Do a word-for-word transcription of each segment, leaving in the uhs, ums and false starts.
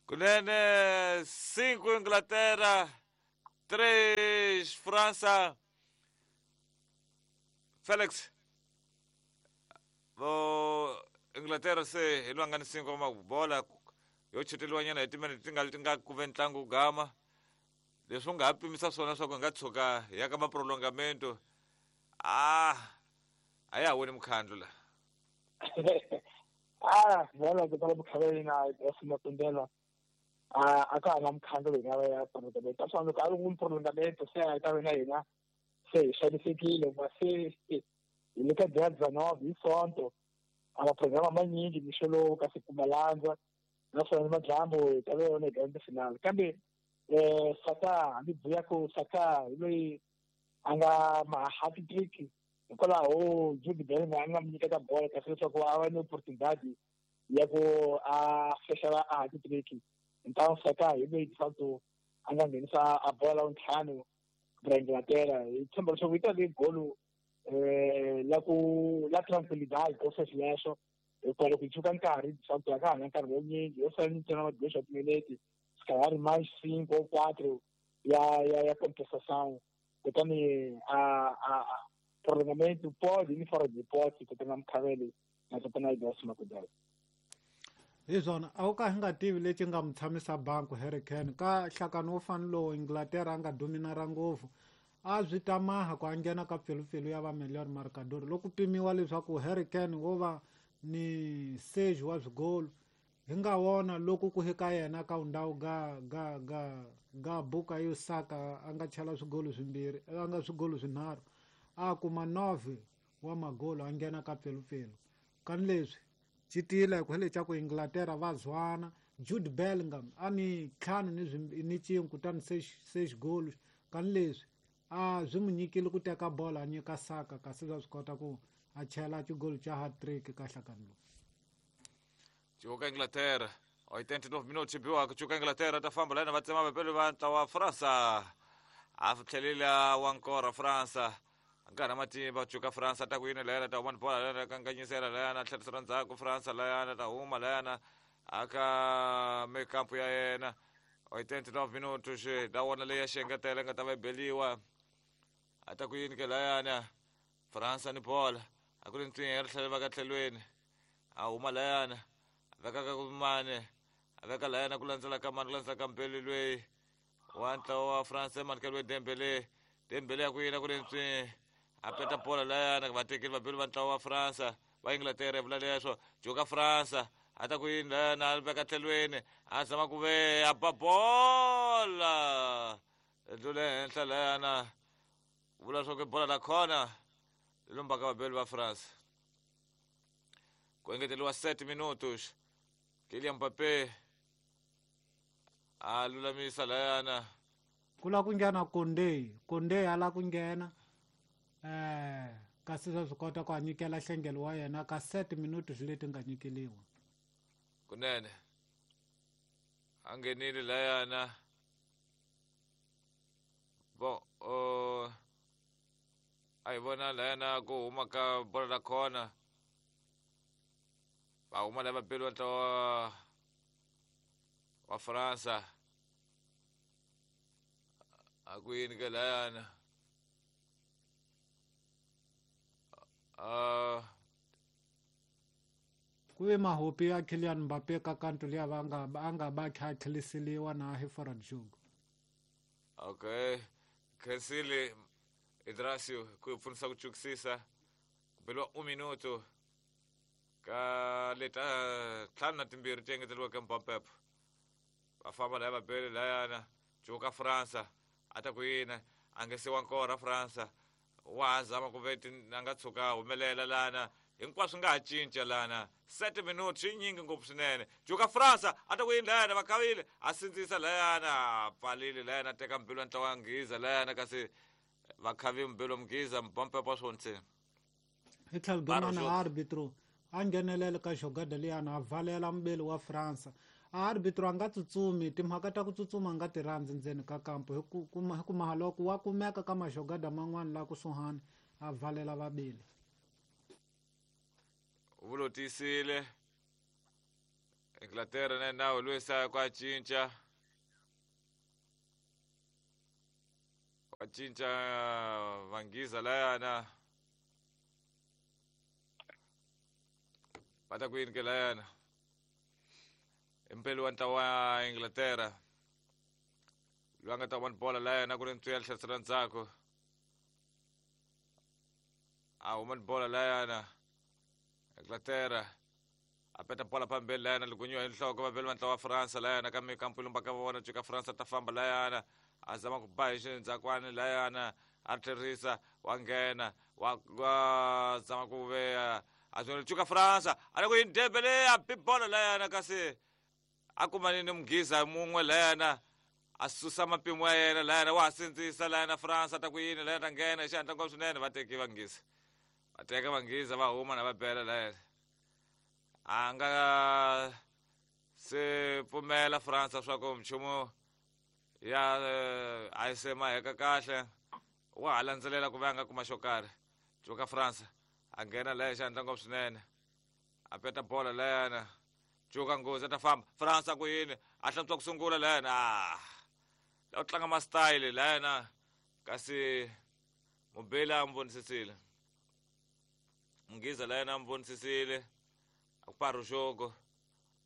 Kunene cinco Inglaterra, três França. Felix vo Inglaterra se hi lwanga ni cinco mabola yo chuteriwanyana hi timinete ti nga ti nga ku ve ntlangu wu gama. Leswi u nga ha pimisa swona swa ku hi nga tshuka hi ya ka maprolongamento ah a ya ha wini mukhandlu la. Ah, bolo ku tala mukhaveli na Makundela a a ka ha na mukhandlu loyi nga va ya prolongamento. A swi loko a ri n'wi prolongamento se a ta ve na hina se hi xanisekile ma se hi le ka dia dezenove hi Sonto a maprograma manyingi mixo lowu kasi kuma landza naswona madyambu hi ta ve yona hi grande finale. Kambe um Saka hambi buya ku Saka hi loyi a nga ma hat trick hikwalaho Jude Bellingham a nga mu nyiketa bolo kasi leswaku a va ni opportunidade ya ku a fexela a hat trick. Então Saka hi loyi de facto a nga nghenisa a bola la ntlhanu ra Inglaterra. Hi tshemba leswaku yi ta ve golo um la ku la tranquilidade ko sweswo hikuva loko hi tshuka nkarhi de facto a ka ha na nkarhi wo nyingi yo sala ntsena madois wa timinete se calhar mais cinco ou quatro ya ya ya compensação. Kutani a a prolongamento pode ir fora de hipótese kutani mukhaveli na tatana Ibrahim Makudela. Hi swona a wu ka hi nga tivi lexi nga mu tshamisa banku Harry Kane ka nhlakano wo fana lowu Inglaterra a nga dominara ngopfu a swi ta maha ku a nghena ka pfelupfelu ya va melhor marcador loko pimiwa leswaku Harry Kane wo va ni seji wa swigolo hi nga wona loko ku hika yena ka ndhawu ga ga ga ga buka yo Saka a nga chela swigolo swimbirhi a nga swigolo swinharhu a kuma nove wa magolo a nghena ka pfelupfelu. Kani leswi xi tiyile hi ku hele xa ku Inglaterra va zwana Jude Bellingham a ni ntlhanu ni ni cin'we kutani se se xigolo kani leswi a swi n'wi nyikile ku teka bolo a nyika Saka kasi swa swi kota ku a chela xigolo xa hat trick ka nhlakano lowu. Cuka Inglaterra oitenta e nove minutos biwa cuka Inglaterra ta famba lana va tsema vapelo va ntlawa wa França a tlhelela wa nkora França nkarhi matimba cuka França ta ku yini layana ta huma ni bola layana kanganyisela layana tlherisela ndzhaku França layana ta huma layana aka mekampu ya yena oitenta e nove minutos da wona leyi ya xengetela nga ta va beliwa a ta ku yini ke layana França ni bola a ku ri ntwinya ri tlhela va ka tlhelweni a huma layana veka ka mane a veka layana ku landzela ka mane ku landzela ka mbeli lweyi wa ntlawa wa France manikelo Dembele Dembele ya ku yina ku ri ntswi a peta bola layana va tekile vabeli va ntlawa wa France va Inglaterra vula leswo joka France a ta ku yini layana a veka tlhelweni a zama ku ve a ba bola dlule henhla layana vula swa ku bola la khona lombaka vabeli va France ku engeteriwa sete minutos Kylian Mbappé a lulamisa layana ku la ku nghena Koundé Koundé a la ku nghena eh kasi swa swi kota ku a nyikela nhlengelo wa yena ka sete minutos leti nga nyikeliwa kunene a nghenile layana bon uh, a hi vona layana ku huma ka bola la khona va huma lava vabeli va ntlawa wa França a ku yini ke layana uh, ku ve mahopi ya Kylian Mbappé ka kanto liya va nga a nga va kha a tlheliseliwa na hi forward jogo. Okay khensile Idrasio ku pfunisa ku chukisisa ku beliwa un minuto ka leta ntlhanu na timbirhi ti engeteriweke Mbappé va famba laya vabeli layana joka França a ta ku yini a nge siwa nkora França wa ha zama ku ve a nga tshuka humelela lana hinkwaswo nga ha cinca lana sete minutos yi nyingi ngopfu swinene joka França a ta ku yini layana va khavile a sindzisa layana a pfalile layana a teka mbilu ya ntlawa wa Nghiza layana kasi va khavi mbilu wa Mghiza Mbappé wa swona hi tlhelo dumana arbitro a nghenelela ka xogada liyana a valela mubeli wa França a arbitro a nga tsutsumi timhaka ta ku tsutsuma a nga ti rhandzi ndzeni ka kampo hi ku hi ku mahaloko wa kumeka ka maxogada man'wana la kusuhani a valela vabeli vulotisile Inglaterra na nawu lwisa kwa cinca kwa cinca Vanghiza layana va ta ku yini ke layana impeli wa ntlawa wa Inglaterra loyi a nga ta vona bola layana ku ri ntswiya tlherisela ndzhaku a huma ni bola layana Inglaterra a peta bola phambili layana ligunyiwa hi nhloko vaveli va ntlawa wa Fransa layana ka mikampu lumba ka vona cuka Fransa ta famba layana a zama ku ba hi xindzhakwani layana a tlherisa wa nghena wa wa zama ku veya a swi cuka Fransa a le ku yini Dembele a bi bola layana kasi a kumani ni Mughiza mun'we layana a susa mapimo ya yena layana wa ha sindzisa layana Fransa ta ku yini layana ta nghena hi xihatla ngopfu swinene va teki Vanghiza va teka Vanghiza va huma na va bela layana a nga se pfumela Fransa swa ku nchumu ya a yi se maheka kahle wa ha landzelela ku va a nga kuma xo karhi cuka Fransa a nghena laya xihatla ngopfu swinene a peta bola layana cuka nghozi a ta famba Fransa ku yini a hlantswa ku sungula layana a la u tlanga ma-style layana kasi mubeli a n'wi vonisisile Mughiza layana a n'wi vonisisile a ku paruxoko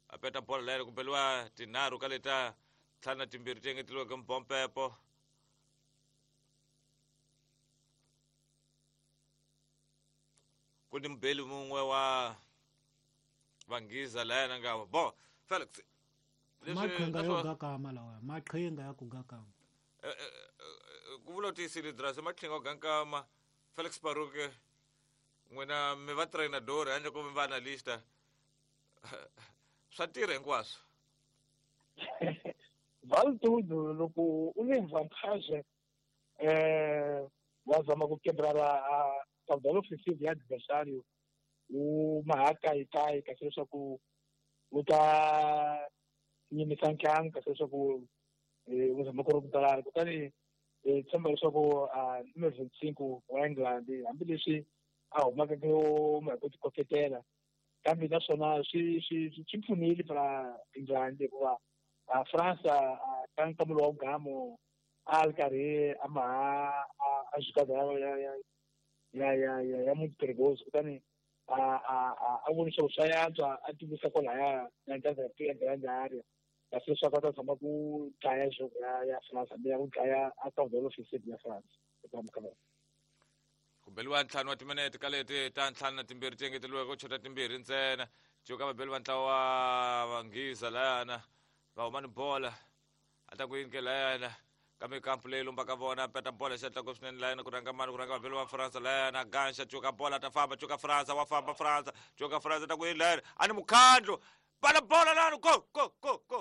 a peta bola layana ku beliwa tinharhu ka leta ntlhanu na timbirhi ti engeteliweke mbompepo ku ni mubeli mun'we wa Vanghiza layana nga bo Felix maqhinga yo gakama lawa maqhinga ya ku gakama ku vula tiyisile drasi maqhinga yo gakama Felix Baruke n'wina mi va trainador handle ko mi va analysta swa tirha hinkwaswo Valtudo loko u le vantage eh wa zama ku quebrar a caudal ofensivo ya adversário u mahakayikai kasi leswaku u ta yimisa ntlangu kasi leswaku u zama ku ri ku kutani hi tshemba leswaku numero vinte-cinco wa England hambileswi a humaka ku ku ti koketela kambe naswona swi swi swi pfunile para England hikuva Fransa ka nkamelo wa gamo a ri karhi a maha a jugada ya ya ya ya ya ya muito perigoso kutani a a a a voni swa swa yantswa a tivisa kwalaya na ntanza ya grande area kasi leswaku a ta tshama ku dlaya jogo ya ya France hambi ya ku dlaya a caudal offensive ya France eka mukavelo ku beliwa ntlhanu wa timinete ka leti ta ntlhanu na timbirhi ti engeteliweke ku chota timbirhi ntsena cuka vabeli va ntlawa wa Vanghiza layana va huma ni bola a ta ku yini ke layana kambe kampu leyi lumbaka vona peta bola xihatla ngopfu swinene layana ku rhanga mani ku rhanga vabeli va Fransa layana ganxa cuka bola ta famba cuka Fransa wa famba Fransa cuka Fransa ta ku yini layana a ni mukhandlu bala bola lani go go go go